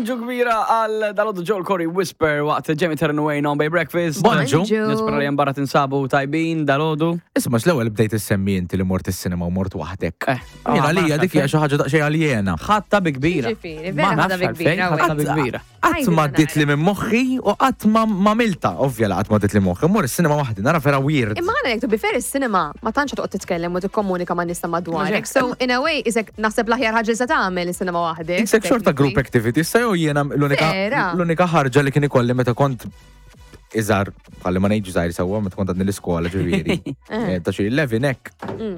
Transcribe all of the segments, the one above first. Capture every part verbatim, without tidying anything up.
Bonġu kbira għal dalgħodu, Joel Corry, Whisper, waqt Jamie Terran Wayne on Bay Breakfast. Bonġu. Nispera li barra tinsabu tajbin dalgħodu. Isma', l-ewwel bdejt issemmi inti li mort is-cinema u mort waħdek. Eh, Jiena ah, għalija ma dik hija xi ħaġa daqsxejn aljena. Ħatta bi kbira. Ġifieri, Ma vera ħadha nafx bi għalfejn, kbira, ħatta bi kbira. Qatt ma għaddiet li minn moħħi u qatt ma ma milta, ovvja la qatt ma għaddiet li moħħi. Mur is-cinema waħdi, nara vera weird. Imma għana jek to be fair, is-cinema ma tantx toqgħod titkellem u tikkomunika ma' nies ta' madwarek. So in a way, isek naħseb l-aħjar ħaġa li se tagħmel is-cinema waħdek. Isek xorta group activity, issa jew jiena l-unika Vera. l-unika ħarġa li kien ikolli meta kont iżgħar, bħalli ma ngħidx żgħir sewwa, meta kont għadni l-iskola ġifieri. Eh, Ta' xi eleven hekk. Mm.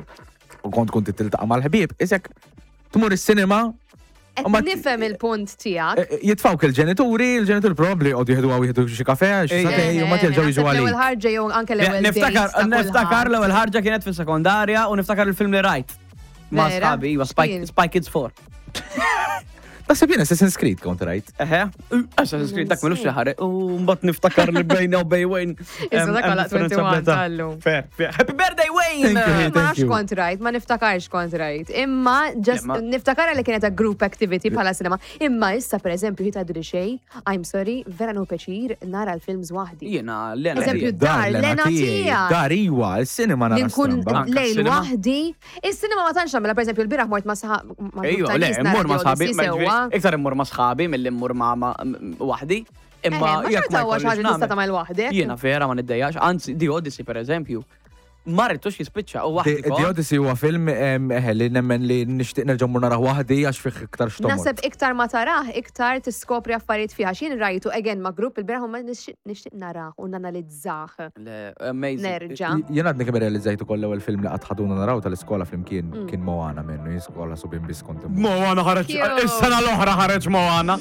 U kont kont tiltaqa' mal-ħbieb, isek tmur is-cinema. Qed U ma- nifhem il-punt tiegħek. eh, Jitfawk il-ġenituri, il-ġenituri probabli għodu jieħdu għaw jieħdu xi kafe, xi Ejja. sagħtejn, u ma jerġgħu jiġu L-ewwel għalik. ħarġa jew anke l-ewwel Niftakar, date ta' niftakar kulħadd. l-ewwel ħarġa kienet fis-sekondarja u niftakar il-film li rajt. Ma' Vera? sħabi, iva, Spy, X'kien? Spy Kids four. Naħseb jien Assassin's Creed kont rajt. Eħe, Assassin's Creed dak milux li ħareġ. U mbagħad niftakar li bejna u bej Wayne. Issa dak għalaq wieħed u għoxrin tal-lum. Fair, fair. Happy birthday, Wayne! Thank you. Ma Thank nafx you. kont rajt, ma niftakarx kont rajt. Imma just Ma- niftakara li kienet a group activity bħala cinema. Imma issa, per eżempju, jitgħidu li xej, I'm sorry, vera nu pjaċir nara l-films waħdi. Jiena, l-ena. Eżempju, tiegħi. dar, l-ena tiegħek. Dar iwa, il-cinema nara Li nkun stramba. Anka lejl s-cinema. waħdi. Is-cinema ma tantx nagħmilha, per eżempju, l-bieraħ mort ma' saħ ma' Ejju, grupp ta' le, nies immur nara ma' The sħabi, Odyssey sewwa. iktar immur ma' sħabi mill-li immur ma' ma' waħdi. Imma Eh, ma jekk xorta huwa xi jkollix ħaġa li tista' nagħmel. tagħmel waħdek. Jiena vera ma niddejjax, anzi, The Odyssey, per eżempju, ma rridtux jispiċċa u waħdi. The The kont. Odyssey huwa film em, eħe, li nemmen li nixtieq nerġa' mmur narah waħdi għax fih iktar xtomor. Naħseb iktar ma tarah, iktar tiskopri affarijiet fiha. Xin rajtu again ma' grupp il-bieraħ u ma nixtieq nixtieq narah u nanalizzah. Le, amazing. Nerġa'. Jien għadni kemm realizzajt ukoll l-ewwel film li qatt ħaduna naraw tal-iskola flimkien Mm. kien Moana minnu, jien skola subien biss kont immur. Moana ħareġ, Cute. is-sena l-oħra ħareġ Moana.